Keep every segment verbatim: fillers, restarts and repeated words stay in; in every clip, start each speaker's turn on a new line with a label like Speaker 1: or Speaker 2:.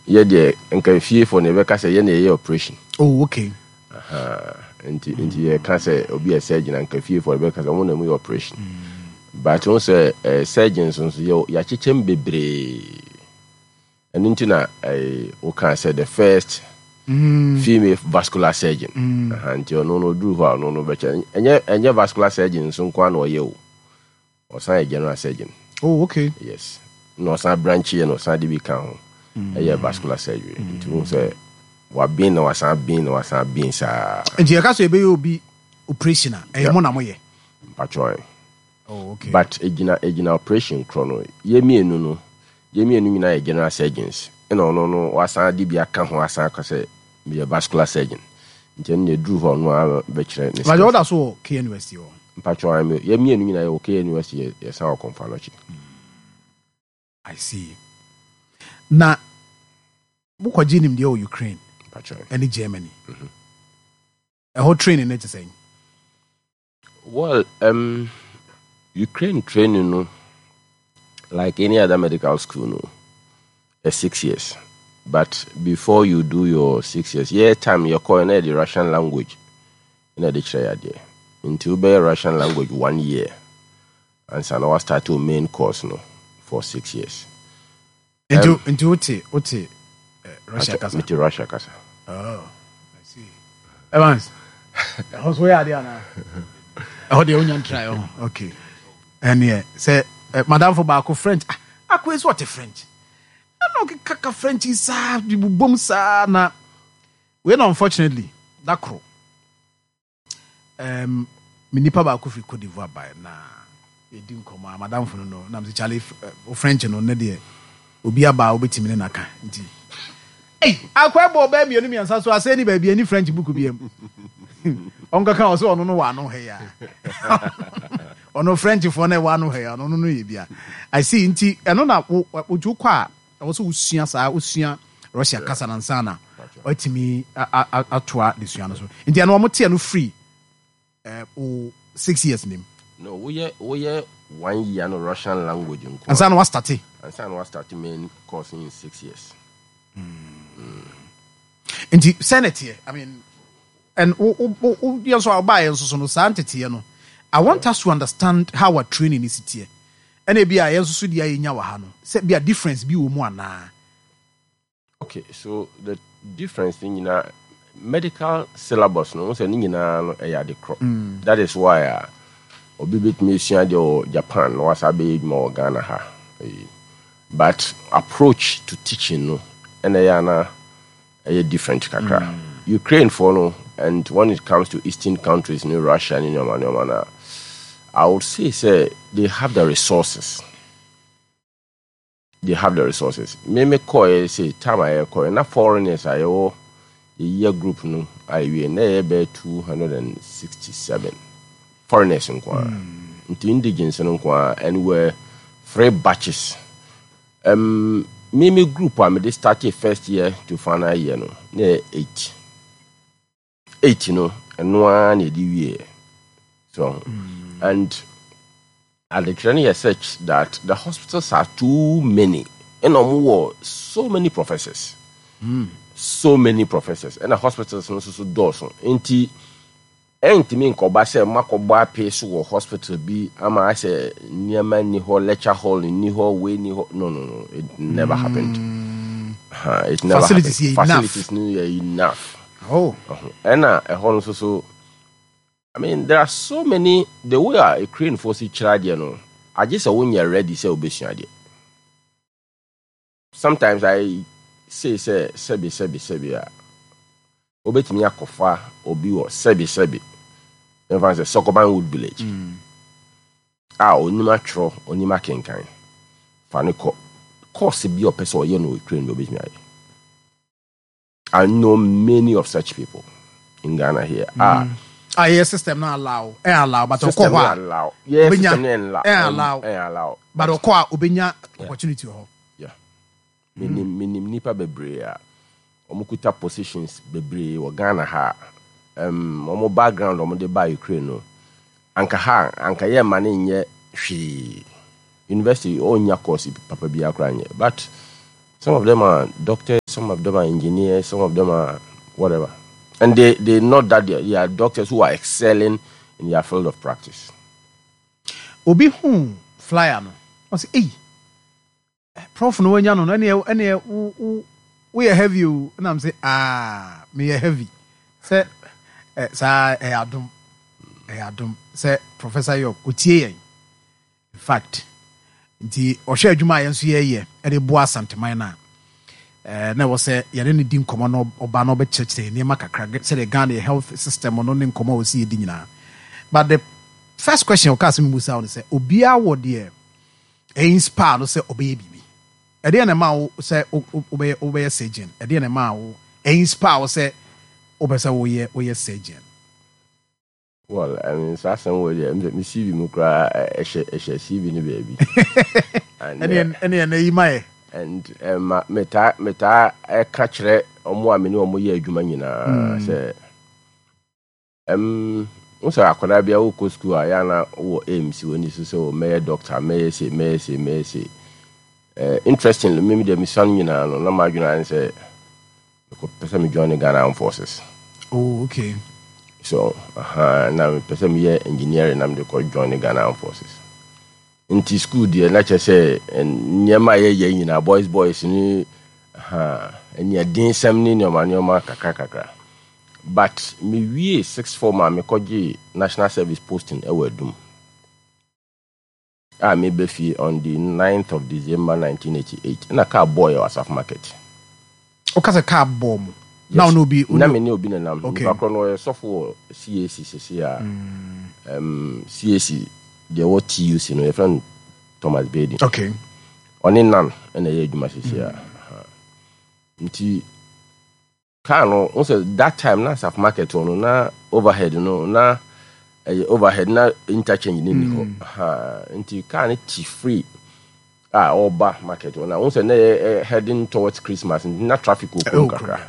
Speaker 1: Yɛ deɛ, nka fiefoɔ na yɛbɛka sɛ yɛ na yɛyɛ operation.
Speaker 2: Oh, okay.
Speaker 1: Aha. nti nti yɛka sɛ obi yɛ surgeon a, nka fiefoɔ yɛbɛka sɛ ɔmo na mu yɛ operation, but wo sɛ eh, surgeons nso yɛ yɛakyekyɛm bebree. Ɛno nti na eh, woka sɛ the first female vascular surgeon. Aha, nti ɔno no ɔduru hɔ a, ɔno no bɛkyɛ ɛnyɛ ɛnyɛ vascular surgeon nso nko a na ɔyɛ o, ɔsan yɛ general surgeon.
Speaker 2: Oh, okay.
Speaker 1: Yes, na ɔsan branch yɛ na ɔsan de bi ka ho ɛyɛ vascular surgery. Nti wo sɛ wabin na wasan bin na wasan bin saa.
Speaker 2: Nti yɛka sɛ yɛbɛyɛ obi operation a, ɛyɛ mo na moyɛ?
Speaker 1: Mpatwɔn.
Speaker 2: Oh, okay.
Speaker 1: But egyina egyina operation korɔ no. Yɛ mmienu no, yɛ mmienu nyinaa yɛ general surgeons, ɛna ɔno no wasan de bi aka ho asan aka sɛ meyɛ vascular surgeon. Nti ɛno na eduru hɔ, ɔno a bɛkyerɛ ne
Speaker 2: Mpatwɔ, woda so wɔ K N U S T hɔ?
Speaker 1: Mpatwɔn, yɛ mmienu nyinaa yɛ wɔ K N U S T, yɛ yɛsan wɔ Kɔmfo Anɔkye.
Speaker 2: I see. Na wokɔgye nimdeɛ wɔ Ukraine
Speaker 1: Mpatwɔn.
Speaker 2: ɛne Germany. Ɛhɔ training no te sɛn?
Speaker 1: Well, um, Ukraine training no, like any other medical school no, uh, six years. But before you do your six years, yeah, time you call the Russian language. Na de kyerɛ adeɛ. Nti wobɛyɛ Russian language one year. Ansa na start your main course no for six years.
Speaker 2: Nti nti wote wote eh, Russia kasa?
Speaker 1: Mete Russia kasa.
Speaker 2: Oh, I see. Evans, ɛhɔ so woyɛ adeɛ anaa? Ɛhɔ deɛ wonya ntrae hɔ. Okay. Ɛneɛ sɛ eh, madamfo baako French, ah, akoe sɛ ɔte French. Ɛna ɔkeka ka French yi saa de bobom saa na wei na unfortunately da koro um, me nipa baako firi Cote d'Ivoire bae na yɛdi nkɔmmɔ a, madamfo no no nam sɛ, "Charlie, wo French no ne deɛ obi aba a wobɛtumi ne naka." Nti ei, akɔ ɛbɔ ɔbɛɛ mmienu mmiɛnsa so asɛ ni baabi ani French book biam. Ɔnkaka wɔ sɛ ɔno no wɔ ano ha yi a, ɔno Frenchfoɔ no ɛwɔ ano ha yi a, ɔno no yɛ bia. I see. Nti ɛno na wo wotu kɔ a, ɛwɔ sɛ wosua saa, wosua Russia kasa na nsa na watumi atoa desua no so. Nti ɛno ɔmo teɛ no free ɛɛ o six years nim?
Speaker 1: No, woyɛ woyɛ one year no Russian language nko.
Speaker 2: Ansa na wastart.
Speaker 1: Ansa na wastart main course in six years.
Speaker 2: Nti sɛ ne teɛ, I mean, and wo wo wo wo yɛn nso a ɔbaa yɛn nso so no saa nteteɛ no, I want us to understand how our training is teɛ, ɛna ebi a yɛn nso so deɛ yɛnya wɔ ha no, sɛ bi a difference bi wɔ mu anaa?
Speaker 1: Okay, so the difference ne nyinaa, medical syllabus no sɛ ne nyinaa no ɛyɛ ade korɔ. That is why a obi bɛtumi esua deɛ wɔ Japan na wasa abɛyɛ adwuma wɔ Ghana ha. Ɛyi. But approach to teaching no ɛna ɛyɛ ana ɛyɛ different kakra. Ukraine foɔ no, and when it comes to eastern countries ne Russia ne nneɛma nneɛma na I would say sɛ they have the resources. They have the resources. Me me kɔɛ sɛ time a yɛkɔɛ na foreigners a yɛwɔ yɛyɛ group no a yɛwie na yɛyɛ bɛyɛ two hundred and sixty seven foreigners nko ara. Nti indigens no nko ara, and were three batches. Um, me me group a mede started first year to final year no na yɛ eight. Eight no, ɛno ara na yɛde wie. So and adekyerɛ no yɛ such that the hospitals are too many, ɛna ɔmo wɔ so many professors, so many professors, ɛna hospitals no nso so dɔɔso. Nti ɛntumi nkɔba sɛ makɔbɔ apee so wɔ hospital bi ama asɛ nneɛma nni hɔ, lecture hall nni hɔ, wei nni hɔ. No, no, no, it never happened. Uh, it never
Speaker 2: Facilities
Speaker 1: happened.
Speaker 2: yɛ enough.
Speaker 1: Facilities no yɛ enough.
Speaker 2: Oh.
Speaker 1: Ɔho. Ɛna ɛhɔ no nso so, I mean, there are so many, the way a Ukrainefoɔ si kyerɛ adeɛ no, agye sɛ wonyɛ ready sɛ wobɛsua adeɛ. Sometimes I say sɛ sɛbi sɛbi sɛbi a wobɛtumi akɔfa obi wɔ sɛbi sɛbi, mfa sɛ Sokoban Wood Village a onim atwerɛ, onim akenkan, fa ne kɔ course bi a ɔpɛ sɛ ɔyɛ no wɔ Ukraine bi, obɛtumi ayɛ. I know many of such people in Ghana here. Ah,
Speaker 2: ah, yɛ system no allow, ɛ allow, but ɔkɔ
Speaker 1: system
Speaker 2: hɔ a
Speaker 1: no allow. Yeah,
Speaker 2: obenya-
Speaker 1: system no allow.
Speaker 2: ɛ allow.
Speaker 1: Ɛ allow.
Speaker 2: But ɔkɔ a, obenya opportunity wɔ hɔ.
Speaker 1: Yeah. Minim minim nipa bebree a wɔn kuta positions bebree wɔ Ghana ha. Um, wɔn background wɔn de ba Ukraine no, anka ha anka yɛ ma ne nyɛ hwee. University ɔnya course papa bi akora nyɛ. But some of them are doctors, Some of them are engineers, some of them are whatever. And they, they not that they are, they are doctors who are excelling in their field of practice.
Speaker 2: Obi hu flyer no, ɔsɛ, "Ei, Prof no wanya no no, ɛneɛ ɛneɛ wo wo woyɛ heavy o." Ɛnam sɛ, "Ah, meyɛ heavy sɛ ɛ saa." Ɛyɛ adom, ɛyɛ adom sɛ Professor York otie yɛn. In fact, nti ɔhwɛ adwuma a yɛn nso yɛyɛ ɛde boa Asanteman no a, ɛɛ na ɛwɔ sɛ yɛne no di nkɔmmɔ na ɔba na ɔbɛkyerɛkyerɛ nneɛma kakra sɛdeɛ Ghana yɛ health system no ne nkɔmmɔ a wɔsi yɛdi nyinaa. But the first question ɔka sɛ memusa wo no sɛ, obiara wɔ deɛ ɛyɛ inspire no sɛ ɔbɛyɛ biribi. Ɛdeɛ na ɛma wo sɛ wobɛyɛ wobɛyɛ surgeon? Ɛdeɛ na ɛma wo ɛyɛ inspire wo sɛ wopɛ sɛ woyɛ woyɛ surgeon?
Speaker 1: Well, I mean, saa asɛm wɔ deɛ, me C V mu koraa, ɛhyɛ ɛhyɛ C V no baabi.
Speaker 2: ɛne ɛne ɛna yi ma yɛ.
Speaker 1: And ma metaa metaa ɛka kyerɛ ɔmo a me ne ɔmo yɛ adwuma nyinaa sɛ ɛm n sɛ akwadaa bi a wokɔ school a, yɛana wɔ aim si wɔ ni so sɛ o, mɛyɛ doctor, mɛyɛ se, mɛyɛ se, mɛyɛ se. uh, interestingly me deɛ, mesua no nyinaa no, na madwene ayɛ sɛ mekɔpɛ sɛ me join Ghana Armed Forces.
Speaker 2: Oh, okay.
Speaker 1: So uh, na mepɛ sɛ meyɛ engineering na mede kɔ join Ghana Armed Forces. Nti school deɛ, na kyerɛ sɛ nneɛma a yɛyɛ nyinaa, boys boys ne ɛne ne nneɛma nneɛma kakra kakra. But mewie six form a, mekɔgye national service posting ɛwɔ Adum a, meba fie on the ninth of December nineteen eighty-eight na car bɔɔ yɛ wɔ Asafo Market.
Speaker 2: Woka sɛ car bɔɔ mu na ɔne obi?
Speaker 1: Na me ne obi nenam. Nipa korɔ no ɔyɛ sɔfo wɔ C A C sese a, um, C A C deɛ ɛwɔ T U C no, yɛfrɛ no Thomas Baden.
Speaker 2: Okay
Speaker 1: ɔne nan ɛna ɛyɛ adwuma sese a. Nti car no n sɛ that time na Asafo Market hɔ no na overhead no na ɛyɛ overhead na interchange ne ni hɔ. Nti car no ti free a ɔba market hɔ na n sɛ na yɛ heading towards Christmas, nti na traffic wɔ kurom kakra.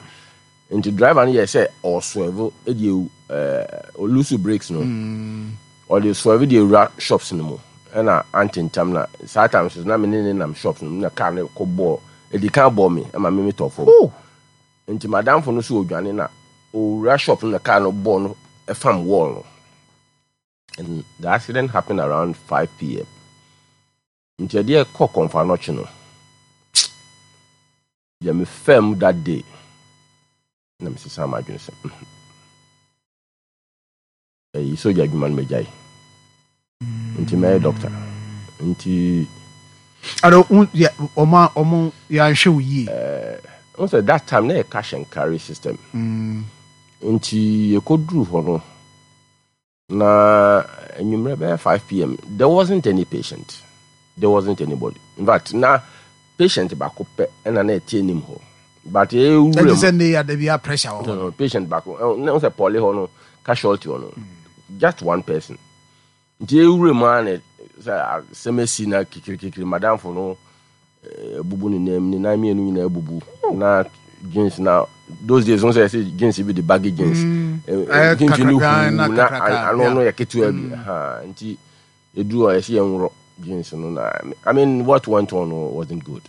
Speaker 1: Nti driver no yɛ sɛ ɔswerve ɛde ɛɛ ɔlose brakes no, ɔde swerve de ewura shops no mu. Ɛna ante ntam na saa time so na me ne ne nam shops no mu na car no kɔ bɔɔ, edi kan bɔɔ me ɛma me me tɔ fam. Nti madamfo no so odwane na owura shop no na car no bɔɔ no ɛfam wall no, and the accident happened around five p m. Nti ɛdeɛ kɔ Kɔmfo Anɔkye no deɛ, me fam that day na mesesa m'adwene sɛ ɛyi sogya adwuma no magyae, nti mɛyɛ doctor. Nti
Speaker 2: ɔmo ɔmo yɛanhwɛ wo yie?
Speaker 1: N sɛ that time na yɛ cash and carry system. Nti yɛkɔduru hɔ no na anwummerɛ bɛyɛ five p m, there wasn't any patient, there wasn't anybody. In fact, na patient baako pɛ ɛna na ɛte anim hɔ, but ɛwura
Speaker 2: mu sɛ ne yɛ adabi a pressure wɔ
Speaker 1: hɔ. Patient baako na sɛ poly hɔ no, casualty hɔ no, just one person. Nti ewura mu a, na sɛ asɛm asi na kikirikikiri, madamfo no ebubu ne nan, ne nan mmienu nyinaa ebubu na jeans na those days n sɛ ɛsɛ jeans bi de baggy jeans mfimfini huu na ano no yɛ ketewa bi. Nti edu hɔ, yɛsi yɛn worɔ jeans no na, I mean, what went on wasn't good,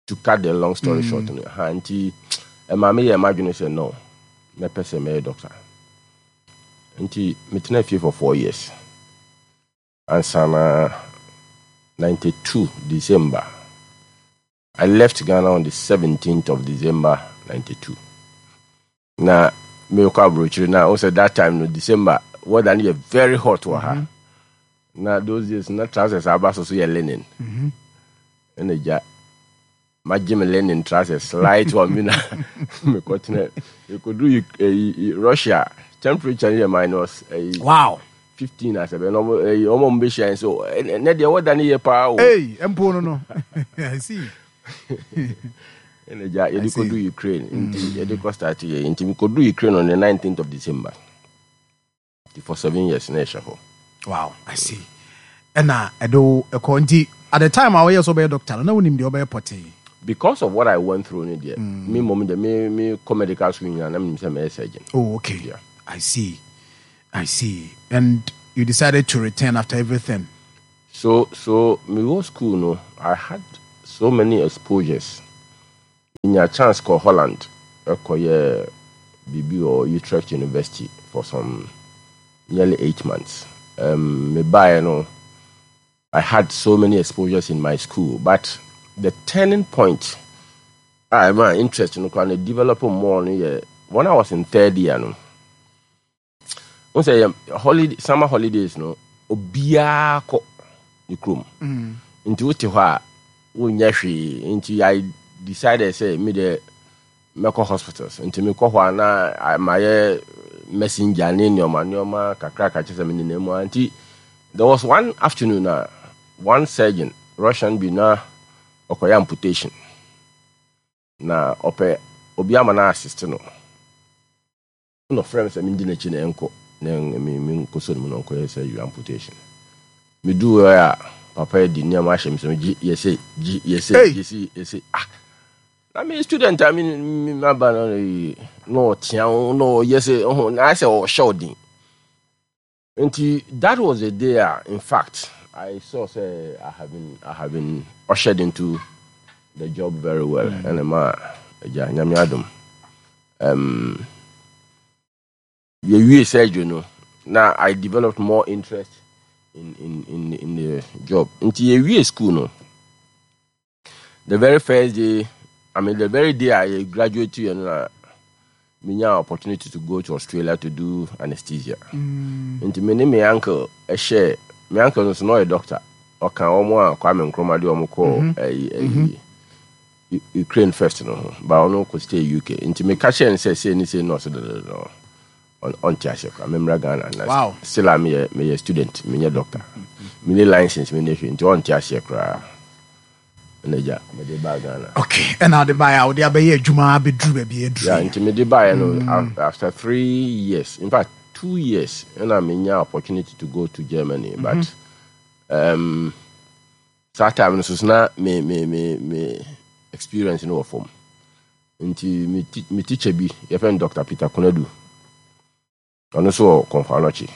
Speaker 1: to cut the long story mm. short no ha. Nti ɛma me yɛ m'adwene sɛ no, mɛpɛ sɛ mɛyɛ doctor. Nti metena fie for four years ansa na ninety-two December. I left Ghana on the seventeenth of December ninety-two na mekɔ aburokyire. Na o sɛ that time no, December weather no yɛ very hot wɔ ha. Na those days na trousers aba so so yɛ linen. Ɛna gya magye me linen trousers light one bi na mekɔtena mekɔduru Russia, temperature no yɛ minus ɛyi
Speaker 2: wow
Speaker 1: fifteen asɛbɛ na ɔmo ɛyi ɔmo ɔmo bɛhyia yɛn so ɛnɛ deɛ, weather no yɛ paa o.
Speaker 2: Hey, mpo no no I see.
Speaker 1: Ɛna gya yɛde kɔdu Ukraine, nti yɛde kɔ start yɛ, nti mekɔdu Ukraine on the nineteenth of December. Nti for seven years na ɛhyɛ hɔ.
Speaker 2: Wow, I see. Ɛna ɛde wo ɛkɔ, nti at the time a wɔyɛ sɛ ɔbɛyɛ doctor no, na wonim deɛ ɔbɛyɛ pɔtee?
Speaker 1: Because of what I went through no deɛ, me mmom deɛ, me me kɔ medical school nyinaa na menim sɛ mɛyɛ surgeon.
Speaker 2: Oh, okay.
Speaker 1: Yeah.
Speaker 2: I see, I see. And you decided to return after everything?
Speaker 1: so so me wɔ school no, I had so many exposures. Menya chance kɔ Holland, ɛkɔyɛ biribi wɔ Utrecht University for some nearly eight months. Um, mebaeɛ no, I had so many exposures in my school, but the turning point a ɛma interest no koraa no develop more no yɛ when I was in third year no. Wo sɛ yɛ holiday, summer holidays no, obiara kɔ ne kurom. Nti wote hɔ a wonyɛ hwee, nti I decided sɛ me deɛ mɛkɔ hospitals. Nti mekɔ hɔ a na a- mayɛ messenger ne nneɛma nneɛma kakra kakra, kyerɛ sɛ menenam mu a. Nti there was one afternoon a one surgeon, Russian bi, na ɔkɔyɛ amputation na ɔpɛ obi ama no assist no, na ɔfrɛ me sɛ mendi n'akyi na ɛnkɔ na me menkɔsɔ no mu na ɔnkɔyɛ surgery amputation. Meduu hɔ a, papa yi de nneɛma ahyɛ me sɛ gye yɛsɛ gye yɛsɛ
Speaker 2: Hey!
Speaker 1: yɛsɛ yɛsɛ. Ah, na me student a me me maba no yi, na ɔtea wo na ɔyɛ sɛ ɔho na ayɛ sɛ ɔhyɛ wo den. Nti that was the day a in fact I saw sɛ I have been I have been ushered into the job very well. Ɛna ma agya, Nyame adom, um, yɛwie surgery no na I developed more interest in, in, in, in the job. Nti yɛwie school no, the very first day, I mean the very day I graduated you know, na menya opportunity to go to Australia to do anesthesia. Nti me ne me uncle ɛhyɛ, me uncle no so na ɔyɛ doctor, ɔka wɔn a Kwame Nkrumah de wɔn kɔɔ ɛyi ɛyi U- Ukraine first no ho ba, ɔno kɔ stay U K. Nti meka kyerɛ no sɛ sei ne sei, na ɔsɛ dɔdɔdɔ ɔnte aseɛ koraa, memmra Ghana na
Speaker 2: Wow.
Speaker 1: still a meyɛ meyɛ student, menyɛ doctor, mene license, mene hwee, nti ɔnte aseɛ koraa. Ɛna gya mede baa Ghana.
Speaker 2: Okay, ɛna wode baeɛ a wode abɛyɛ adwuma abɛduru baabi aduru?
Speaker 1: Yeah, nti mede baeɛ no, af- after three years, in fact two years, ɛna menya opportunity to go to Germany. But um, saa time no so so na me me me me experience no wɔ fam, nti me, ti- me teacher bi yɛfrɛ no Doctor Peter Konadu, ɔno nso wɔ Komfo Anokye,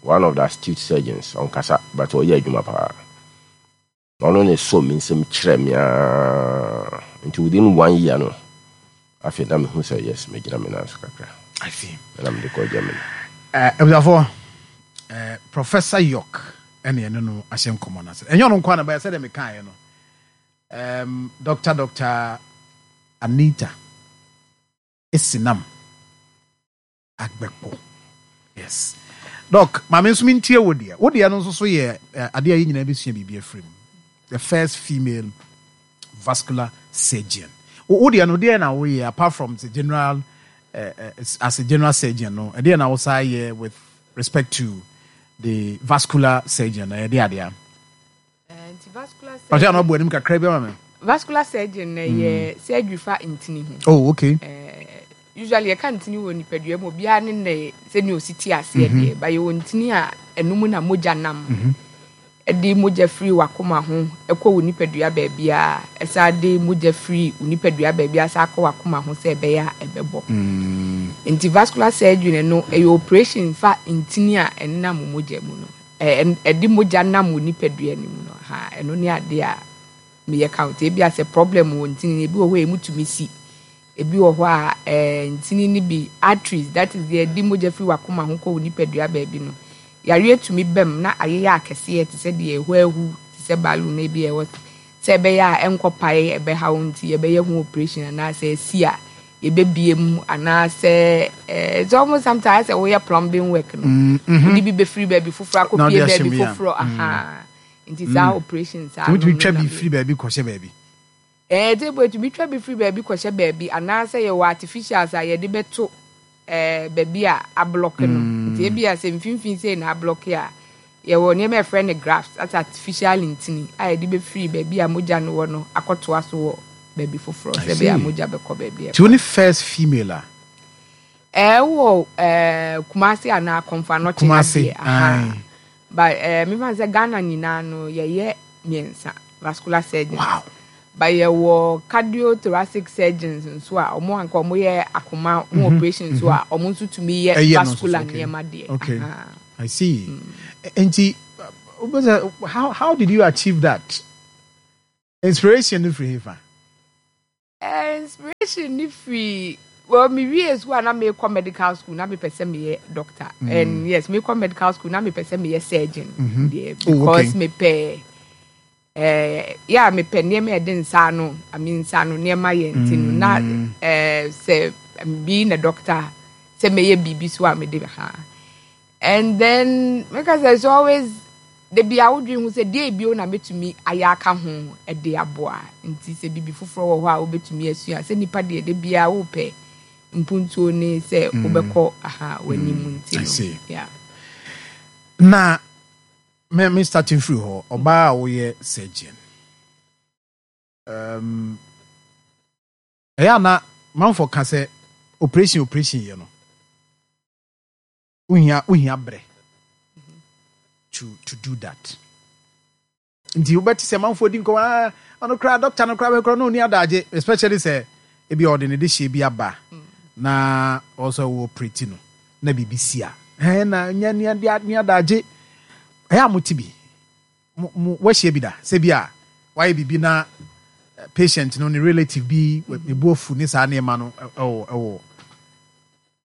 Speaker 1: one of the astute surgeons, ɔnkasa but ɔyɛ adwuma paa. Ɔno ne so me nsɛm kyerɛ me aa, nti within one year no, afei na mehu sɛ yes, megyina me nan so kakra.
Speaker 2: I see.
Speaker 1: Ɛna mede kɔ Germany.
Speaker 2: Eh, abusuafoɔ, eh, Professor York ɛne ɛne no ahyɛ nkɔmmɔ no ase. Ɛnyɛ ɔno nko a na bɛyɛ sɛdeɛ mekaeɛ no, um, Doctor Doctor Anita Esinam Agbɛkpo. Yes, Doc, maame nso mentie wo deɛ. Wo deɛ no nso so yɛ eh, adeɛ a yɛ nyinaa bɛsua biribi afiri mu, the first female vascular surgeon. Wo wo deɛ no, deɛ na woyɛ apart from the general uh, uh, as a general surgeon no, ɛdeɛ na wosaa yɛ with respect to the vascular surgeon na yɛde adeɛ
Speaker 3: Eh, nti vascular
Speaker 2: ɔkyɛ na
Speaker 3: surgeon
Speaker 2: ɔbɔ anim kakra bi ama me.
Speaker 3: Vascular surgeon na yɛ surgery fa ntini ho.
Speaker 2: Oh, okay.
Speaker 3: Usually yɛka ntini wɔ nipadua mu, obiara ne ne sɛnea osi te aseɛ deɛ ba. Yɛwɔ ntini a ɛnum na mogya nam, ɛde mogya firi wakoma ho ɛkɔ wɔ nipadua baabi a, ɛsan de mogya firi wɔ nipadua baabi a san akɔ wakoma ho sɛ ɛbɛyɛ a ɛbɛbɔ. Nti vascular surgery no, ɛyɛ operation fa ntini a ɛnam mogya mu no, ɛ ɛde mogya nam wɔ nipadua no mu no ha. Ɛno ne adeɛ a meyɛ count. Ebi asɛ problem wɔ ntini no, ebi wɔ hɔ a emu tumi si, ebi wɔ hɔ a ɛɛ ntini no bi, arteries, that is deɛ ɛde mogya firi wakoma ho kɔ wɔ nipadua baabi no, yareɛ tumi bɛm na ayeyɛ akɛseɛ te sɛ deɛ ɛhɔ ahu te sɛ balloon na ebi ɛwɔ sɛ ɛbɛyɛ a ɛnkɔ pae ɛbɛha wo, nti yɛbɛyɛ ho operation anaasɛ esi a yɛbɛbie mu anaasɛ ɛɛ it's almost sometimes sɛ woyɛ plumbing work no, wode bi bɛfiri baabi foforɔ
Speaker 2: Na
Speaker 3: akɔpie
Speaker 2: wode ahyɛ
Speaker 3: baabi
Speaker 2: mu, ya.
Speaker 3: foforɔ aha. Nti saa operation saa
Speaker 2: nti wotumi
Speaker 3: no
Speaker 2: twa
Speaker 3: no
Speaker 2: bi
Speaker 3: na
Speaker 2: firi baabi kɔhyɛ baabi?
Speaker 3: Ɛɛ table etumi twa bi firi baabi kɔhyɛ baabi anaasɛ yɛwɔ artificials a yɛde bɛto ɛɛ baabi a ablock no. Nti ebi a sɛ mfimfini sei na ablock a, yɛwɔ nneɛma a yɛfrɛ no grafts, that's artificial ntini a yɛde bɛfiri baabi a mogya no wɔ no akɔtoa so wɔ baabi foforɔ
Speaker 2: I
Speaker 3: sɛ ɛbɛyɛ a
Speaker 2: see.
Speaker 3: mogya bɛkɔ baabi a.
Speaker 2: Nti wo ne first female a
Speaker 3: Ɛwɔ ɛɛ Kumasi anaa Komfo Anokye?
Speaker 2: Kumasi,
Speaker 3: adeɛ aha.
Speaker 2: Aye.
Speaker 3: But ɛɛ mefa sɛ Ghana nyinaa no, yɛyɛ mmiɛnsa vascular surgeons.
Speaker 2: Wow.
Speaker 3: But yɛwɔ cardiothoracic surgeons nso a ɔmo anka ɔmo yɛ akoma ho operation nso a ɔmo nso tumi yɛ
Speaker 2: Ɛyɛ no nso so,
Speaker 3: vascular
Speaker 2: okay.
Speaker 3: nneɛma deɛ.
Speaker 2: Okay.
Speaker 3: Aha.
Speaker 2: I see. Nti uh, how how did you achieve that? Inspiration no firi hefa?
Speaker 3: Eh, inspiration ni firi, well, me wie school a na mekɔ medical school na mepɛ sɛ meyɛ doctor mm. And yes, mekɔ medical school na mepɛ sɛ meyɛ surgeon mm -hmm. deɛ, because oh, okay. mepɛ eh, yeah, mepɛ nneɛma a ɛde nsa ano, I mean, nsa ano nneɛma yɛ, nti no na mm. eh, sɛ being a doctor, sɛ meyɛ biribi so a mede ha. And then meka sɛ it's always de bia wodwen ho sɛ deɛ ebio na mɛtumi ayɛ aka ho de aboa. Nti sɛ biribi foforɔ wɔ hɔ a wobɛtumi asua sɛ nipa deɛ, de bia wopɛ mpuntuo ne sɛ mm. wobɛkɔ aha w'anim mm. Nti no, yeah.
Speaker 2: Na me me starting firi hɔ, ɔbaa a woyɛ surgeon, um, ɛyɛ ana manfo ka sɛ operation operation yɛ no, wohia wohia brɛ to to do that? Nti wobɛte sɛ manfoɔ di nkɔmɔ, ah, ɔno koraa doctor no koraa bɛkorɔ na ɔni adagye, especially sɛ ebi ɔde ne de hyɛ bi aba na ɔsɛ wɔ operate no na biribi si a, ɛn na nyɛ ni adagye. Ɛyɛ a mote bi, mo mo wɔahyia bi da sɛ bi a wayɛ biribi na patient no ne relative bi ne bu afu ne saa nneɛma no ɛwɔ ɛwɔ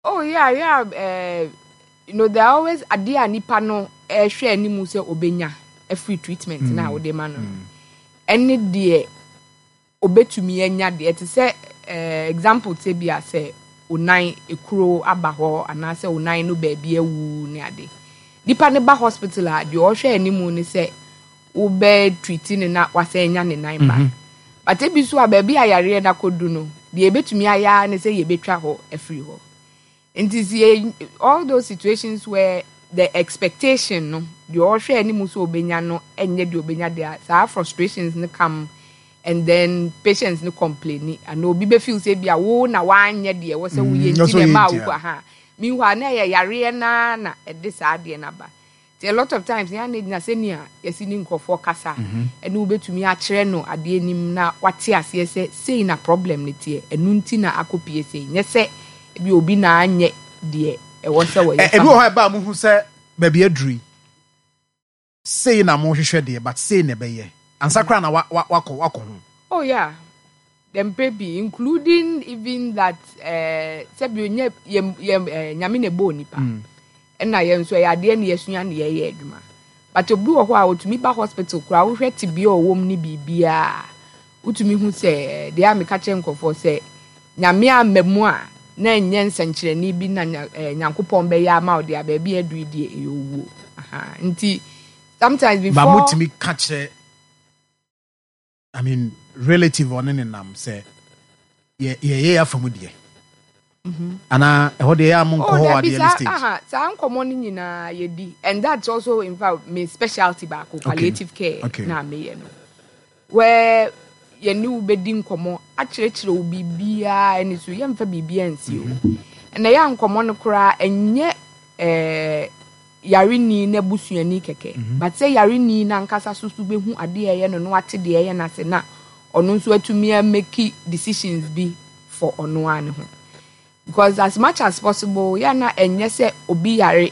Speaker 3: Oh yeah yeah uh, you know there are always adeɛ a nipa no ɛhwɛ anim sɛ obenya free treatment mm. na wode ma no, ɛne deɛ obetumi anya deɛ te sɛ uh, example te bi a sɛ onan ekuro aba hɔ anaasɛ onan no baabi awu ne ade, nipa ne ba hospital a, deɛ ɔhwɛ anim ne sɛ wobɛ treat ne na wasan anya ne nan ba mm -hmm. But ebi so a, baabi a yareɛ no akɔdu no deɛ, ebetumi ayɛ ne sɛ yɛbɛtwa hɔ afiri hɔ. Nti si all those situations where the expectation no, deɛ ɔhwɛ anim sɛ obenya no ɛnyɛ deɛ obenya deɛ, saa frustrations no come and then patients no complain ana obi bɛ feel sɛ bi a wo na wanyɛ deɛ wɔ sɛ woyɛ, nti na ɛma wo ha. Meanwhile na ɛyɛ yareɛ naa na ɛde saa adeɛ no aba. Nti a lot of times yɛn ana gyina sɛnea yɛsi ne nkurɔfoɔ kasa, ɛne wobɛtumi akyerɛ no adeɛ nim na wate aseɛ sɛ sei na problem no teɛ, ɛno nti na akɔpie sei, nyɛ sɛ ebi obi na anyɛ deɛ ɛwɔ sɛ wɔyɛ.
Speaker 2: Ebi wɔ hɔ a ɛba a muhu sɛ baabi aduru yi, sei na mohwehwɛ deɛ, but sei na ɛbɛyɛ ansa koraa na wakɔ wakɔ ho?
Speaker 3: Oh yeah, dem pɛ, including even that uh, sɛbi onye yɛ yɛ uh, Nyame na ɛbɔ nipa, ɛna yɛn nso ɛyɛ adeɛ na yɛsua na yɛyɛ adwuma. But obi wɔ hɔ a otumi ba hospital koraa, wohwɛ tibia ɔwɔ mu ne biribiara, wotumi hu sɛ deɛ a meka kyerɛ nkurɔfoɔ sɛ Nyame ama mu a na nyɛ nsɛnkyerɛnne bi na Nyankopɔn bɛyɛ ama wo deɛ a, baabi aduru deɛ, ɛyɛ owuo. Nti sometimes before
Speaker 2: Ba motumi ka kyerɛ, I mean, relative ɔne ne nam sɛ yɛyɛ yɛ afa mu deɛ anaa ɛhɔ deɛ yɛ a monkɔ hɔ adeɛ no stage?
Speaker 3: Aha, saa nkɔmmɔ no nyinaa yɛdi, and that's also in fact me specialty baako, palliative care.
Speaker 2: okay.
Speaker 3: Na meyɛ no where yɛne wo bɛdi nkɔmmɔ akyerɛkyerɛ wo biribiaa, ɛne so yɛmfa biribiaa nsi o. Ɛna ɛyɛ a nkɔmmɔ no koraa ɛnyɛ ɛɛ yareni na busuani kɛkɛ, but sɛ yareni n'ankasa so so bɛhu adeɛ a ɛyɛ no na wate deɛ ɛyɛ n'ase na ɔno nso atumi amake decisions bi for ɔno ara ne ho, because as much as possible yɛ na ɛnyɛ sɛ obi yare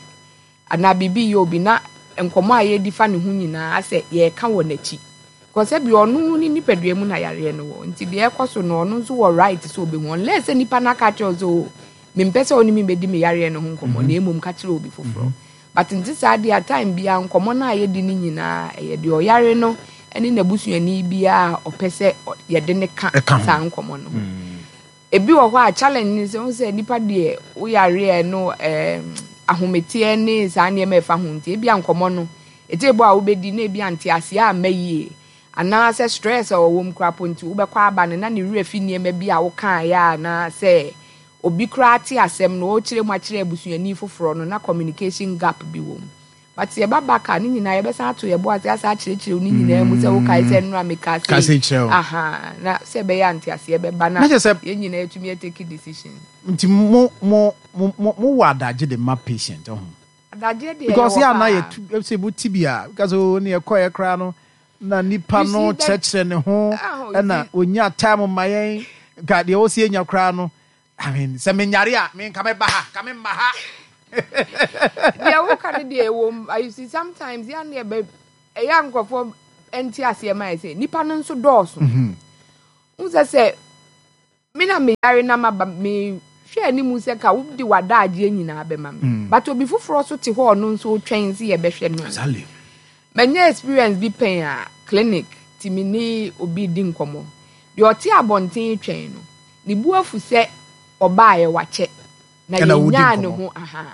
Speaker 3: anaa biribi yɛ obi na nkɔmɔ a yɛdi fa ne ho nyinaa asɛ yɛreka wɔ n'akyi, because ɛbi ɔno ne nipadua mu na yareɛ no wɔ. Nti deɛ ɛkɔ so no, ɔno nso wɔ right sɛ ɔbɛhu, unless sɛ nipa no aka kyerɛ sɛ o, mempɛ sɛ ɔne mi bɛdi me yareɛ no ho nkɔmɔ, na emom ka kyerɛ obi foforɔ. But nti saa deɛ, time biara nkɔmɔ no a yɛdi no nyinaa ɛyɛ deɛ ɔyare no ne n'abusuani biara a ɔpɛ sɛ yɛde ne ka saa nkɔmɔ no ho. Ebi wɔ hɔ a, challenge ni sɛ sɛ nipa deɛ woyareɛ no, ɛɛm ahometeɛ ne saa nneɛma ɛfa ho. Nti ebi a nkɔmɔ no ete bɔ a wobɛdi na ebi ante aseɛ amma yie anaasɛ stress a ɔwɔ mu koraa po nti wobɛkɔ aba no na ne werɛ fi nneɛma bi a wokaeɛ, anaasɛ obi koraa te asɛm no ɔrekyerɛ mu akyerɛ abusuani foforɔ no na communication gap bi wɔ mu. But yɛba back a, ne nyinaa yɛbɛsan ato yɛbo ase asa akyerɛkyerɛ ne nyinaa mu sɛ wokae sɛ nnora meka
Speaker 2: sei,
Speaker 3: aha, na sɛ ɛbɛyɛ ante aseɛ bɛba na yɛn nyinaa yɛtumi atake decision.
Speaker 2: Nti mo mo mo mo wɔ adagye de ma patient ho?
Speaker 3: Adagye deɛ
Speaker 2: because yɛ ana yɛ tu sɛ mo ti bi a, because o ne yɛkɔ yɛ koraa no na nipa no kyerɛkyerɛ ne ho ɛna onya time ma yɛn nka deɛ ɔsi enya koraa no, I mean, sɛ menyare a, me nka mɛba ha, nka memma ha.
Speaker 3: Deɛ woka no deɛ ɛwɔ mu. You see, sometimes yɛn ne ɛbɛ ɛyɛ a nkurɔfoɔ nte aseɛ ma yɛ sɛ nipa no nso dɔɔso n sɛ sɛ Me na meyare na maba, mehwɛ anim sɛ ka wode w'adagyeɛ nyinaa bɛma me.
Speaker 2: Mm.
Speaker 3: But obi foforɔ so te hɔ, ɔno nso twɛn sɛ yɛbɛhwɛ no.
Speaker 2: Exactly.
Speaker 3: Manya experience bi pɛn a clinic ti me ne obi di nkɔmmɔ. Deɛ ɔte abɔnten twɛn no, ne bu afu sɛ ɔbaeɛ wakyɛ na
Speaker 2: Ɛna wodi
Speaker 3: yɛnyaa ne
Speaker 2: nkɔmmɔ.
Speaker 3: ho aha.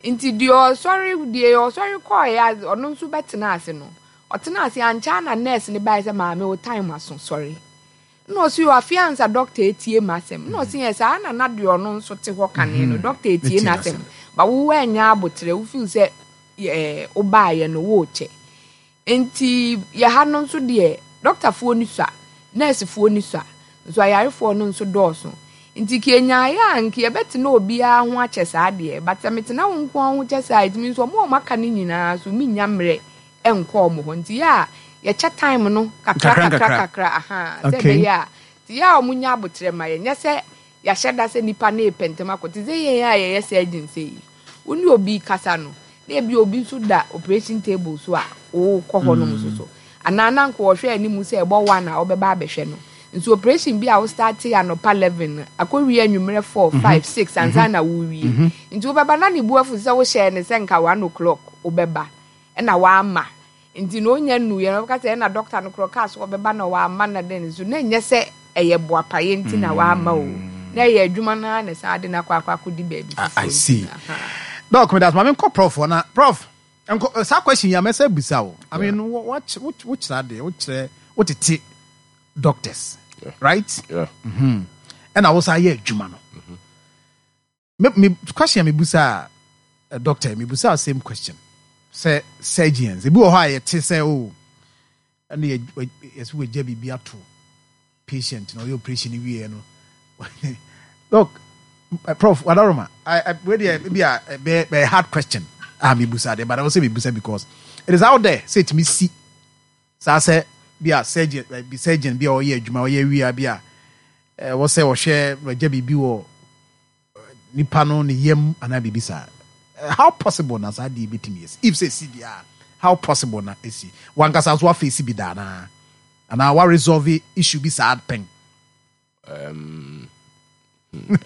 Speaker 3: Nti deɛ ɔsɔre deɛ ɔsɔre kɔɔeɛ a ɔno nso bɛtena ase no, ɔtena ase ankyɛ na nurse ne baeɛ sɛ, "Maame, wo time aso, sɔre." Na ɔsi yɛ afe ansa doctor etie ma asɛm. Na ɔsi yɛ saa na na deɛ ɔno nso te hɔ kane no, doctor etie
Speaker 2: Etie
Speaker 3: n'asɛm.
Speaker 2: n'asɛm.
Speaker 3: Ba wo anya abotire, wo feel sɛ ɛɛ wobaayɛ no wɔɔkyɛ. Nti yɛ ha no nso deɛ, doctorfoɔ ni sua, nursefoɔ ni sua nso, ayarefoɔ no nso dɔɔso. Nti ka enyaeɛ a nka yɛbɛtena obiara ho akyɛ saa deɛ, but sɛ metena wo nko ara ho kyɛ saa, ɛtumi nso ɔmo a ɔmo aka no nyinaa so menya mmerɛ ɛnkɔ ɔmo hɔ. Nti yɛ a yɛkyɛ time no kakra
Speaker 2: Nkakra,
Speaker 3: kakra
Speaker 2: nkakra.
Speaker 3: Kakra aha sɛ
Speaker 2: Okay.
Speaker 3: ɛbɛyɛ a nti yɛ a ɔmo nya abotire ma yɛ, nyɛ sɛ yɛahyɛ da sɛ nipa no repɛ ntɛm akɔ. Te sɛ yɛn a yɛyɛ surgeon sɛ yi, wo ne obi kasa no na ebi obi nso da operation table so a wokɔ hɔ nom nso so anaa na nka wɔhwɛ anim sɛ ɛbɔ one a wɔbɛba abɛhwɛ no nso, operation bi a wo start anɔpa eleven akɔwie anwummerɛ four, five, six ansa na wowie. Nti wobɛba na ne bu afu sɛ wohyɛɛ ne sɛ nka one o'clock wobɛba ɛna wama. Nti na onya nnuyɛ no, wɔbɛka sɛ ɛna doctor no korɔ kaa so wɔbɛba na wama na den nso na ɛnyɛ sɛ ɛyɛ boapayɛ nti na wama o, na ɛyɛ adwuma no ara na ɛsan de no akɔ akɔ akɔdi baabi
Speaker 2: I, I
Speaker 3: foforɔ.
Speaker 2: see.
Speaker 3: Nti, aha.
Speaker 2: Doc, me that's maame nkɔ prof hɔ na prof nkɔ eh, saa question yi a mɛsɛ bisa o. I mean, wo wo wo kyerɛ adeɛ, wo kyerɛ, wo tete doctors,
Speaker 1: Yeah.
Speaker 2: right?
Speaker 1: Yeah.
Speaker 2: Ɛna wo sa yɛ adwuma no. Me me question a me busa uh, doctor, me busa same question. Sɛ surgeons, ebi wɔ hɔ a yɛte sɛ o, ɛna yɛ yɛsɛ wɔgya biribi ato patient na ɔyɛ operation wie no. Doc, uh, Prof Wadaroma, I I wei deɛ ebi a ɛbɛyɛ bɛyɛ hard question a me busa deɛ, but I will say me busa because it is out there sɛ etumi si saa sɛ bi a surgeon eh, bi surgeon bi a ɔyɛ adwuma ɔyɛ wia bi a ɛwɔ sɛ ɔhwɛ wɔgya biribi wɔ nipa no ne yam anaa biribi saa. Eh, how possible na saa deɛ ebɛtumi esi? If sɛ esi deɛ a, how possible na esi? Wankasa nso afeesi bi da anaa anaa wa resolve issue bi saa pɛn?
Speaker 1: Um,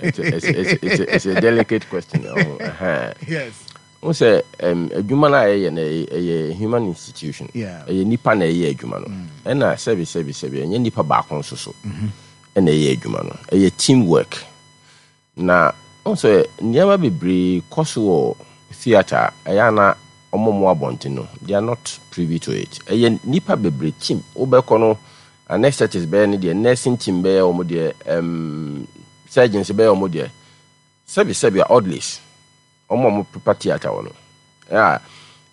Speaker 1: it's, a, it's, it's, it's, a, it's a delicate question. Oh, uh-huh.
Speaker 2: Yes.
Speaker 1: Wo sɛ um, adwuma no a ɛyɛ no, ɛyɛ ɛyɛ human institution.
Speaker 2: Yeah.
Speaker 1: Ɛyɛ nipa na ɛyɛ adwuma no. Ɛna sɛbi sɛbi sɛbi, ɛnyɛ nipa baako nso so ɛna ɛyɛ adwuma no, ɛyɛ team work. Na wo sɛ nneɛma bebree kɔ so wɔ theatre a ɛyɛ ana ɔmo mo abɔnten no, they are not privy to it. Ɛyɛ nipa bebree team. Wobɛkɔ no, anesthetist bɛyɛ ne deɛ, nursing team bɛyɛ wɔn deɛ, um, surgeons bɛyɛ wɔn deɛ, sɛbi sɛbi a orderlies, ɔmo a ɔmo prepare theatre wɔ no a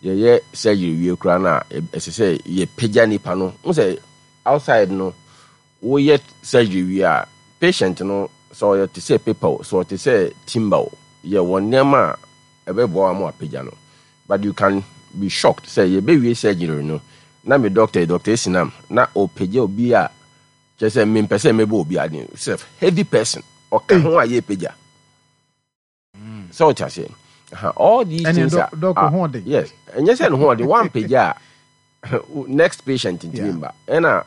Speaker 1: yɛyɛ surgery wie koraa no a, ɛsɛ sɛ yɛpagya nipa no. N sɛ outside no, woyɛ surgery wie a, patient no, sɛ ɔyɛ te sɛ paper o, sɛ ɔte sɛ timber o, yɛ wɔ nneɛma a ɛbɛboa wa mo apagya no. But you can be shocked sɛ yɛbɛwie surgery no na me doctor, Doctor Esinam, na ɔpagya obi a kyerɛ sɛ mempɛ sɛ mɛbɔ obi ade sɛ heavy person ɔka ho a yɛpagya sɛ ɔte aseɛ. Aha, all these
Speaker 2: Ɛne
Speaker 1: things
Speaker 2: doc-
Speaker 1: are,
Speaker 2: doc
Speaker 1: are
Speaker 2: ho ɔden.
Speaker 1: Yes, ɛnyɛ sɛ ne ho ɔden. Wampagya a, next patient ntumi
Speaker 2: Yeah.
Speaker 1: mba. Ɛna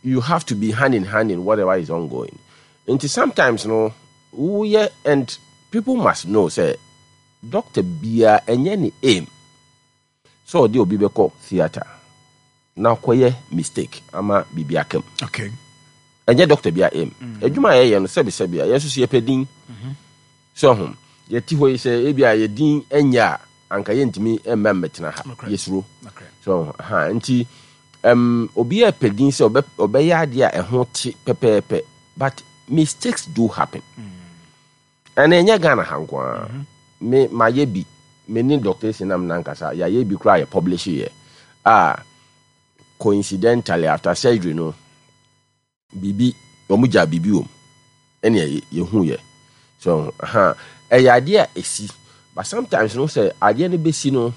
Speaker 1: you have to be hand in hand in whatever is ongoing. Nti sometimes no woyɛ, and people must know sɛ doctor biara, ɛnyɛ ne aim sɛ ɔde obi bɛkɔ theatre na ɔkɔyɛ mistake ama biribi aka mu.
Speaker 2: Okay
Speaker 1: ɛnyɛ doctor bi a aim. Adwuma a yɛyɛ no, sɛbisɛbi a yɛn nso so yɛpɛ din sɛ ho yɛte hɔ yi sɛ ebi a yɛdin ɛnyɛ a, anka yɛntumi mma mmɛtena ha.
Speaker 2: Nokorɛ.
Speaker 1: Yɛsuro
Speaker 2: okay
Speaker 1: so ha. Nti um, obi a pɛ din sɛ ɔbɛ- ɔbɛyɛ adeɛ a ɛho te pɛpɛɛpɛ, but mistakes do happen. Ɛna ɛnyɛ Ghana ha nko ara. Me mayɛ bi, me ne Doctor Esinam nankasa yɛayɛ bi koraa, yɛ publish yɛ a coincidentally after surgery no, biribi wɔn gya biribi wɔ mu ɛna yɛ yɛhu yɛ so ha. Ɛyɛ adeɛ a ɛsi, but sometimes no sɛ adeɛ no bɛsi no,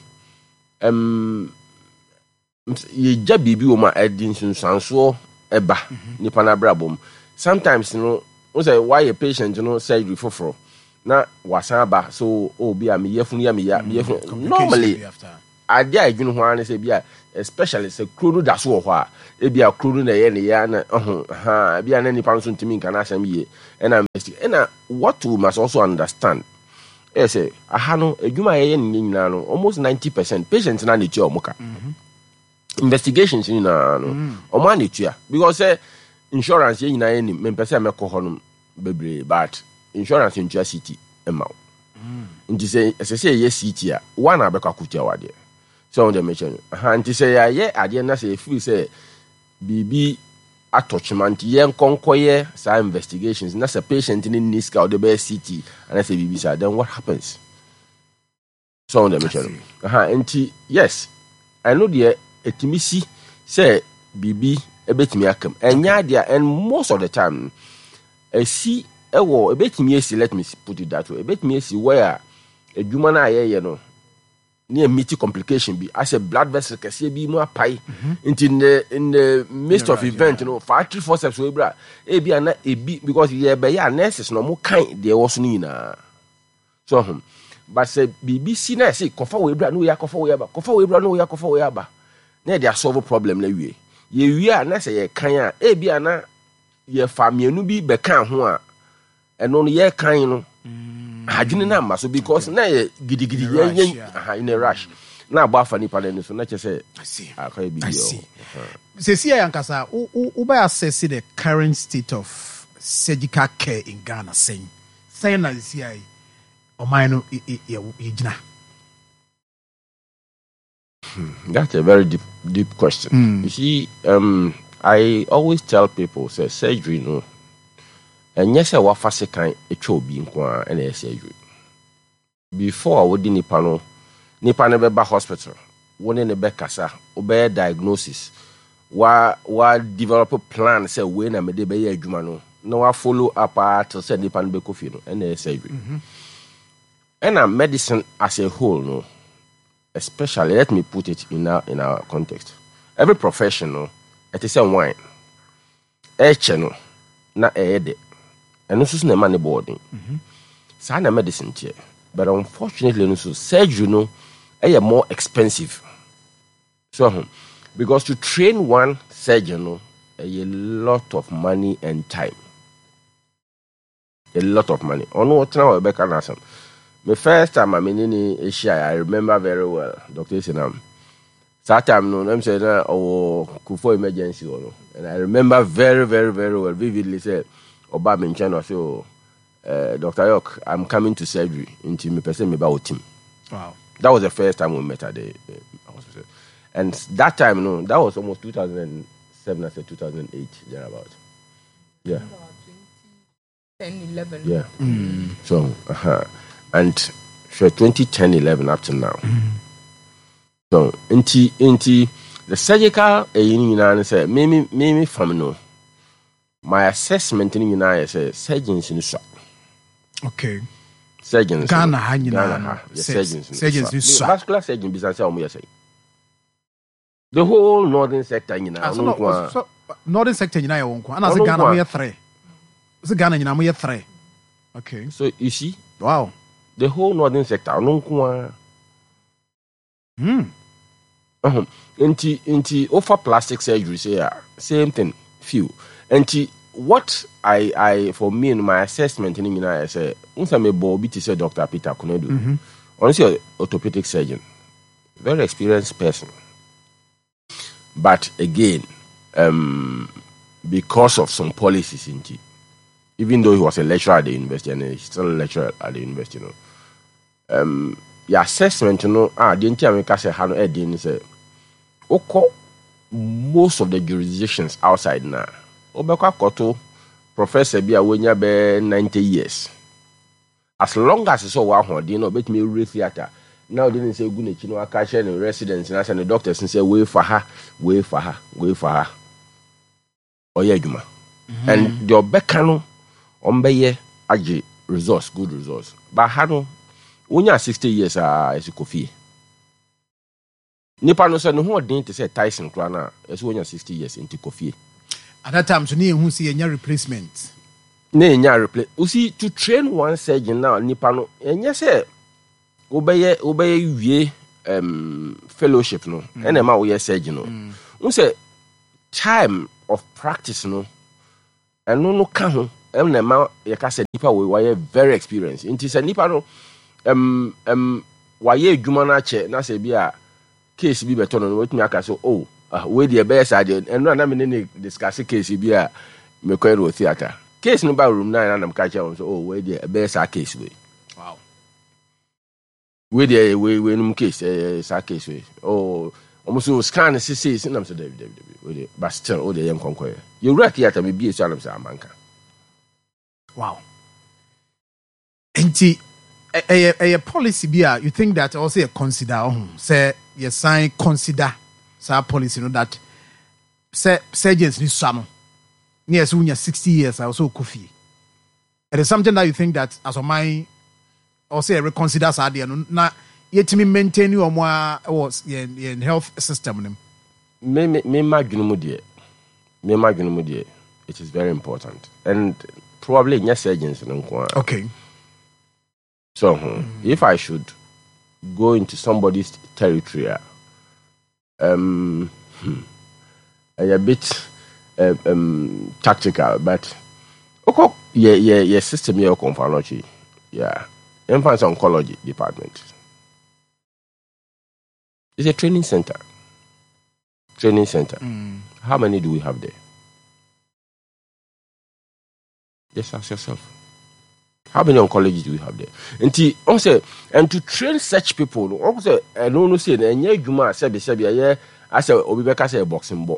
Speaker 1: um, yɛgya biribi wɔ mu a ɛde nsunsuansoɔ ɛba nipa no abrabɔ mu. Sometimes no wo sɛ woayɛ patient no surgery foforɔ na wasan aba so, oh, bi a meyɛfunu yɛ meya meyɛfunu.
Speaker 2: Complication
Speaker 1: Normally
Speaker 2: bi after.
Speaker 1: Adeɛ a ɛdwene ho ara ne sɛ bi a, especially sɛ kuro no da so wɔ hɔ a, ebi a kuro no na ɛyɛ ne ya na ɔho ha ebi a na nipa no nso ntumi nka n'asɛm yie. Ɛna ɛna what we must also understand ɛyɛ sɛ aha no, adwuma a yɛyɛ ne nyinaa no, almost ninety percent patients na na etua ɔmo ka. Investigations nyinaa no, ɔmo ana etua, because sɛ insurance, yɛn nyinaa yɛ nim, mempɛ sɛ mɛkɔ hɔ nom bebree, but insurance ntua C T ɛma wo. Nti sɛ ɛsɛ sɛ yɛyɛ C T a, one a bɛkɔ akotua wadeɛ sɛ wɔn deɛ mekyɛ no aha. Nti sɛ yɛayɛ adeɛ na sɛ yɛfiri sɛ biribi atɔ kyema, nti yɛn nkɔnkɔyɛ saa investigations, na sɛ patient ne ni sika a ɔde bɛyɛ C T anaasɛ biribi saa, then what happens? Sɛ wɔn deɛ mekyɛ no aha. Nti yes, ɛno deɛ ɛtumi si sɛ biribi ɛbɛtumi akam, ɛnyɛ adeɛ a, and most of the time ɛsi ɛwɔ, ɛbɛtumi esi, let me put it that way, ɛbɛtumi esi where adwuma no a yɛyɛ no ne yɛ meet complication bi, asɛ blood vessel kɛseɛ bi mu apae. Nti in the in the midst of event no, fa artery forceps wɔ ebira ebi ana ebi, because yɛbɛyɛ a, nurses na ɔmo kan deɛ ɛwɔ so no nyinaa so ɔhom. But sɛ biribi si na ɛsɛ kɔfa wɔ ebira na oyɛ akɔfa wɔ aba, kɔfa wɔ ebira na oyɛ akɔfa wɔ aba, na yɛde asolve problem na wie, yɛwie a, na sɛ yɛkan a, ebi ana yɛfa mmienu bi bɛka ho a, ɛno no yɛkan no adwene no amma so, because na yɛ gidigidi yɛn yɛn aha in a rush na abɔ afa nipa no ani so na kyerɛ sɛ akɔyɛ biribi wɔ.
Speaker 2: Sɛsi a yankasa wobɛ assess the current state of surgical care in Ghana, sɛn sɛn na sɛsi a ɔman no yɛgyina?
Speaker 1: That's a very deep, deep question. Mm. You see, um, I always tell people, say surgery no, ɛnyɛ sɛ wafa sekan atwa obi nko a ɛna ɛyɛ surgery. Before a wode nipa no, nipa no bɛba hospital, wo ne ne bɛkasa, wobɛyɛ diagnosis, wa wa develop plan sɛ wei na mede bɛyɛ adwuma no, na wa follow up a till sɛ nipa no bɛkɔ fie no, ɛna ɛyɛ surgery. Ɛna medicine as a whole no, especially, let me put it in our in our context, every profession no, ɛte sɛ wine, ɛkyɛ no na ɛyɛ dɛ, ɛno nso so na ɛma ne bɔ ɔden. Saa na medicine teɛ, but unfortunately no so, surgery no ɛyɛ more expensive so ho, because to train one surgeon no, ɛyɛ lot of money and time, a lot of money. Ɔno ɔtena hɔ ɛbɛka n'asɛm. Me first time a me ne ne ahyia, I remember very well, Doctor Esenam, saa time no nam sɛ na ɔwɔ Kufuor emergency hɔ no, and I remember very very very well, vividly, sɛ ɔba me nkyɛn na ɔsɛ, "O uh, Doctor York, I'm coming to surgery, nti mepɛ sɛ meba wɔ team."
Speaker 2: Wow.
Speaker 1: That was the first time we met at the uh, hospital, and that time no, that was almost two thousand seven, I said two thousand eight thereabout, yeah.
Speaker 3: ten, eleven.
Speaker 1: Yeah. So uh-huh. And for twenty ten, eleven up to now. So nti nti the surgical ɛyi no nyinaa ne sɛ me me me me fam no, my assessment no nyinaa yɛ sɛ surgeons no sua.
Speaker 2: Okay.
Speaker 1: Surgeons
Speaker 2: Ghana
Speaker 1: no,
Speaker 2: ha nyinaa
Speaker 1: Ghana
Speaker 2: no,
Speaker 1: ha yɛ
Speaker 2: sur-
Speaker 1: surgeons no
Speaker 2: surgeons no
Speaker 1: sua.
Speaker 2: sua.
Speaker 1: Vascular surgeon bisa sɛ ɔmo yɛ sɛ the whole northern sector nyinaa,
Speaker 2: Ah, so
Speaker 1: ɔno
Speaker 2: no,
Speaker 1: nko ara.
Speaker 2: So, northern sector nyinaa yɛ wɔn nko. Ana sɛ
Speaker 1: Ɔno
Speaker 2: Ghana
Speaker 1: nko a.
Speaker 2: moyɛ three. Sɛ Ghana nyinaa moyɛ three. Okay.
Speaker 1: So you see,
Speaker 2: Wow.
Speaker 1: the whole northern sector, ɔno nko ara.
Speaker 2: Hmm.
Speaker 1: Ɔhun nti nti ofa plastic surgery say a, same thing, few. Nti what I I for me no, my assessment ni nyinaa yɛ sɛ n sɛ mebɔ obi te sɛ Doctor Peter Konadu, ɔno sɛ orthopedic surgeon, very experienced person, but again, um, because of some policies nti, even though he was a lecturer at the university and he's still a lecturer at the university no, um, yɛ assessment no a, deɛ nti a meka sɛ ha no ɛden ne sɛ wokɔ most of the jurisdictions outside na wobɛkɔ akɔto professor bi a wonya bɛɛ ninety years, as long as sɛ ɔwɔ ahoɔden na ɔbɛtumi awura theatre na ɔde ne nsa egu n'akyi na waka kyerɛ ne residents na sɛ ne doctors sɛ wei fa ha, wei fa ha, wei fa ha, ɔyɛ adwuma, and deɛ ɔbɛka no ɔmbɛyɛ agye results, good results. But ha no, wonya sixty years a, ɛsɛ kɔ fie. Nipa no sɛ ne ho ɔden te sɛ Tyson koraa no a, ɛsɛ wonya sixty years nti kɔ fie.
Speaker 2: At that time so ne yɛhu sɛ yɛnya replacement.
Speaker 1: Na ɛnya replace. You see, to train one surgeon now, nipa no ɛnyɛ sɛ wobɛyɛ wobɛyɛ wie um, fellowship no, ɛna ɛma woyɛ surgeon no. Wo sɛ time of practice no, ɛno no ka ho ɛna ɛma yɛka sɛ nipa wei wayɛ very experienced. Nti sɛ nipa no um, um, wayɛ adwuma no akyɛ na sɛ bi a case bi bɛtɔ no no watumi aka so, "Oh, ah, wei deɛ ɛbɛyɛ saa deɛ." Ɛno a na me ne ne discuss case bi a mekɔɛ no wɔ theatre, case no ba room nine, na nam ka kyerɛ wɔn sɛ, "Oh, wei deɛ ɛbɛyɛ saa case wei."
Speaker 2: Wow
Speaker 1: wei deɛ ɛyɛ wei wei num case, ɛyɛ saa case wei. Oh, ɔmo so scan sese si nam sɛ dabi, dabi, dabi, wei deɛ, but still o deɛ yɛ nkɔnkɔɛ yɛwura theatre mi bie so anam sɛ amanka.
Speaker 2: Wow, nti ɛ- ɛyɛ ɛyɛ policy bi a you think that also yɛ consider ɔho sɛ yɛsan consider saa policy no that sɛ surgeons ni sua no ne yɛ sɛ wonya sixty years a wɔsɛ wokɔ fie. It is something that you think that as ɔman ɔsɛ yɛ reconsider saa adeɛ no na yɛtumi maintain wɔn a ɛwɔ yɛn yɛn health system no mu?
Speaker 1: me me me ma dwene mu deɛ me ma dwene mu deɛ, it is very important and probably nyɛ surgeons no nko ara.
Speaker 2: Okay
Speaker 1: so hmm, if I should go into somebody's territory a, um, hmm, ɛyɛ a bit um, um, tactical, but wokɔ yɛ yɛ yɛ system yɛ Komfo Anokye, yeah, yɛmfa sɛ oncology department, it's a training center training center How many do we have there? Just ask yourself, how many oncologists do we have there? Nti ɔn sɛ, and to train such people no, ɔn sɛ ɛno no sɛ no ɛnyɛ adwuma a sɛbi sɛbi ɛyɛ asɛ obi bɛka sɛ ɛyɛ boxing bɔ,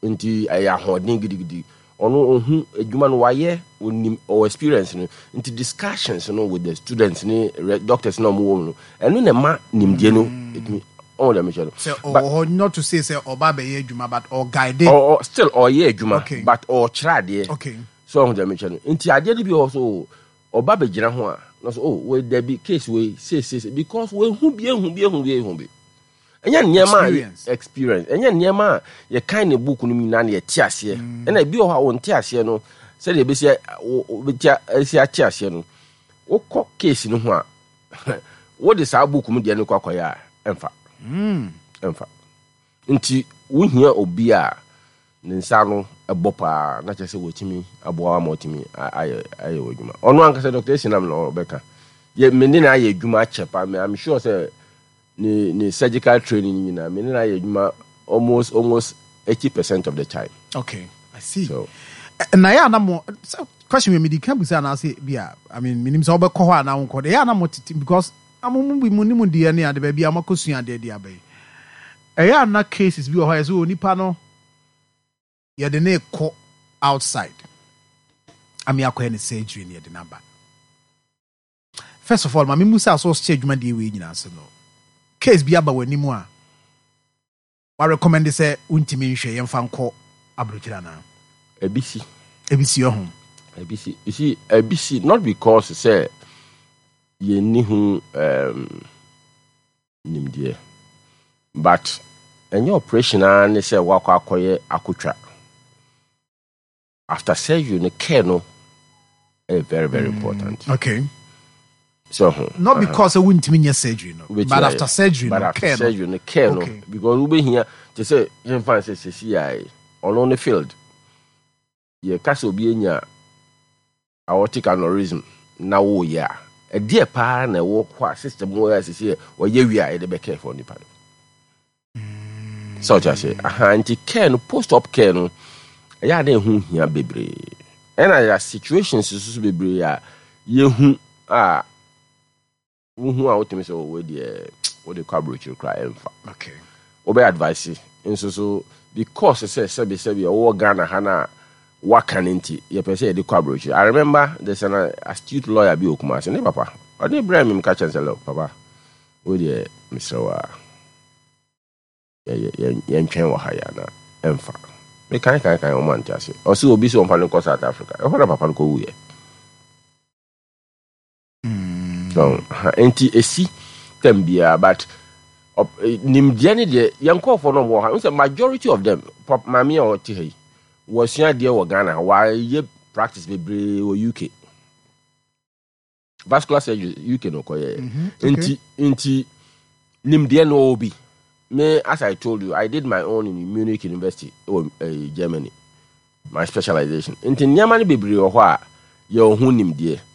Speaker 1: nti ɛyɛ ahoɔden gidigidi. Ɔno ohun adwuma no wayɛ, onim, ɔwɔ experience no, nti discussions no with the students ne re- doctors na ɔmo wɔ mu no, ɛno na ɛma nimdeɛ no etumi ɔmo dɛm kyɛ no.
Speaker 2: Sɛ ɔwɔ hɔ, not to say sɛ ɔba abɛyɛ adwuma, but ɔguide.
Speaker 1: ɔ ɔ still ɔyɛ adwuma,
Speaker 2: Okay.
Speaker 1: but ɔkyerɛ adeɛ.
Speaker 2: Okay
Speaker 1: so ɔho dɛm kyɛ no, nti adeɛ no bi wɔ hɔ so ɔba bɛgyina ho a na so, "Oh, wei dabi, case wei sei sei sei," because wehu bi, ehu bi, ehu bi, ehu bi. Ɛnyɛ nneɛma a
Speaker 2: Experience.
Speaker 1: Experience. Ɛnyɛ nneɛma a yɛkan ne book no mu nyinaa na yɛte aseɛ. Ɛna ebi wɔ hɔ a wɔnte aseɛ no, sɛdeɛ ebesi wo wobɛti esi ate aseɛ no, wokɔ case no ho a, wode saa book mu deɛ no kɔ akɔyɛ a, ɛmfa ɛmfa Nti wohia obi a ne nsa no ɛbɔ paa na kyerɛ sɛ wɔtumi aboa ama ɔtumi a- ayɛ ayɛ wɔ adwuma. Ɔno ankasa Doctor Esinam na ɔbɛka yɛ me ne na ayɛ adwuma akyɛ paa. Me, I'm sure sɛ ne ne surgical training nyinaa, me ne na ayɛ adwuma almost almost eighty percent of the time.
Speaker 2: Okay, I see.
Speaker 1: So
Speaker 2: na yɛ ana mo sɛ question wei mede ka busa anaasɛ bi a, I mean, menim sɛ wobɛkɔ hɔ anaa wonkɔ de, ɛyɛ ana mo tete because amo mu bi mu ne mu deɛ ne ade baabi a moakɔsua adeɛ de aba yi, ɛyɛ ana cases bi wɔ hɔ a yɛ sɛ onipa no yɛde ne kɔ outside ame akɔyɛ ne surgery ne yɛde no aba? First of all, ma memu sɛ asɛ ɔhyɛ adwumadeɛ wei nyinaa se no, case bi aba w'anim a warecommend sɛ wontumi nhwɛ, yɛmfa nkɔ aburokyire anaa?
Speaker 1: Ebi si.
Speaker 2: Ebi si ɔho?
Speaker 1: Ebi si. You see, ebi si not because sɛ yɛnni ho um, nimdeɛ, but ɛnyɛ operation ara ne sɛ wakɔ akɔyɛ akotwa. After surgery no, care no ɛyɛ very, very important.
Speaker 2: Okay
Speaker 1: so ho
Speaker 2: Not because sɛ wontumi nyɛ surgery no,
Speaker 1: wobɛtumi
Speaker 2: but
Speaker 1: ayɛ.
Speaker 2: After surgery
Speaker 1: but
Speaker 2: no,
Speaker 1: after
Speaker 2: care no.
Speaker 1: Surgery no, care no.
Speaker 2: Okay.
Speaker 1: Because wobɛhia te sɛ yɛmfa sɛ sɛsi a ɔno ne field, yɛka sɛ obi anya aortic aneurysm na woyɛ a, ɛdeɛ paa na ɛwɔ hɔ a system wɔ a sɛsi ɔyɛ wie a yɛde bɛcare for nipa no sɛ ɔkyɛ ase aha. Nti care no, post op care no, ɛyɛ ade ɛho hia bebree, ɛna yɛ situations nso so bebree a yɛhu a wohu a wotumi sɛ wɔwɔ deɛ wode kɔ aburokyire koraa ɛmfa.
Speaker 2: Okay
Speaker 1: wobɛ advice nso so because sɛ sɛbi sɛbi ɔwɔ Ghana ha no a waka no, nti yɛpɛ sɛ yɛde kɔ aburokyire. I remember there's an astute lawyer bi wɔ Kumase, ne papa ɔde brɛ me mka kyɛn sɛ, "Look, papa, wo deɛ mesrɛ wo a yɛ- yɛ- yɛntwɛn wɔ ha yɛ ana ɛmfa." Mekan kan kan, ɔmo ante ase. Ɔsɛ obi sɛ ɔmfa no nkɔ South Africa, ɛhɔ na papa no kɔwuyɛ. So ha, nti esi tam biara, but ɔp- eh, nimdeɛ ne deɛ yɛn nkɔɔfoɔ no wɔ ha n sɛ majority of them pap, maame a ɔte ha yi wɔsua adeɛ wɔ Ghana, wɔayɛ practice bebree wɔ U K, vascular surgery U K no kɔyɛ.
Speaker 2: Mhm, okay.
Speaker 1: Nti nti Nimdeɛ no ɔwɔ bi. Me, as I told you, I did my own in Munich University ɛwɔ eh, Germany, my specialization. Nti nneɛma no bebree wɔ hɔ a yɛwɔ ho nimdeɛ.